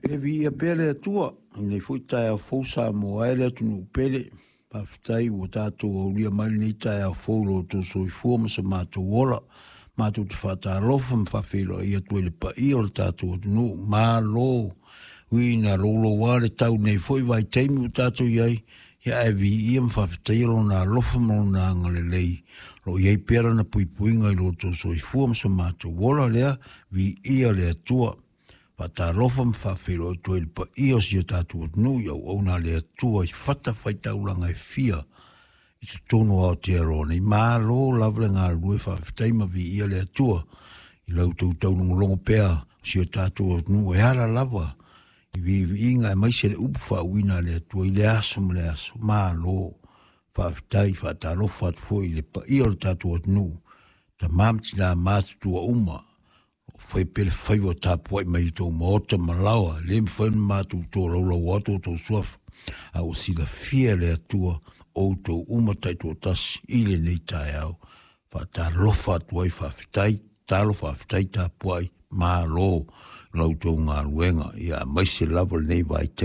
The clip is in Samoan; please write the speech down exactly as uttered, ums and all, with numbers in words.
E viia pea le Atua i lenei foi taeao fou Samoa e le atunuu pele. Faafetai ua tatou aulia mai lenei taeao fou i lo outou soifua ma so matou ola. Matou te faatalofa ma faafeiloai atu ai i le paia o le tatou atunuu. Malo uiina louloua le tau nei foi vaitaimi ua tatou i ai, ia ae viia ma faafetaia lona alofa ma lona agalelei o lo o i ai pea lana puipuiga i lo outou soifua ma so matou ola lea. Viia le Atua. Faatalofa ma faafeiloai atu ai i le paia o si o tatou atunuu i auauna a le Atua i fatafaitaulaga e fia i totonu o Aotearoa nei. Malo lava le galulue, faafetai ma viia le Atua i la outou taulogologo pea o si o tatou atunuu e ala lava i viiviiga aemaise le upu faauuina a le Atua i le aso ma le aso. Malo faafetai. Faatalofa atu foi i le paia o le tatou atunuu, tama ma tina matutua uma o fai pea le faiva o tapuai mai i outou maota ma laoa. E le mafai ona matou tolaulau atu outou suafa, a ua silafia e le Atua outou uma taitoatasi i lenei taeao. Faatalofa atu ai, faafetai tatalo, faafetai tapuai, malo i la outou galuega, ia aemaise lava lenei vaitaimi.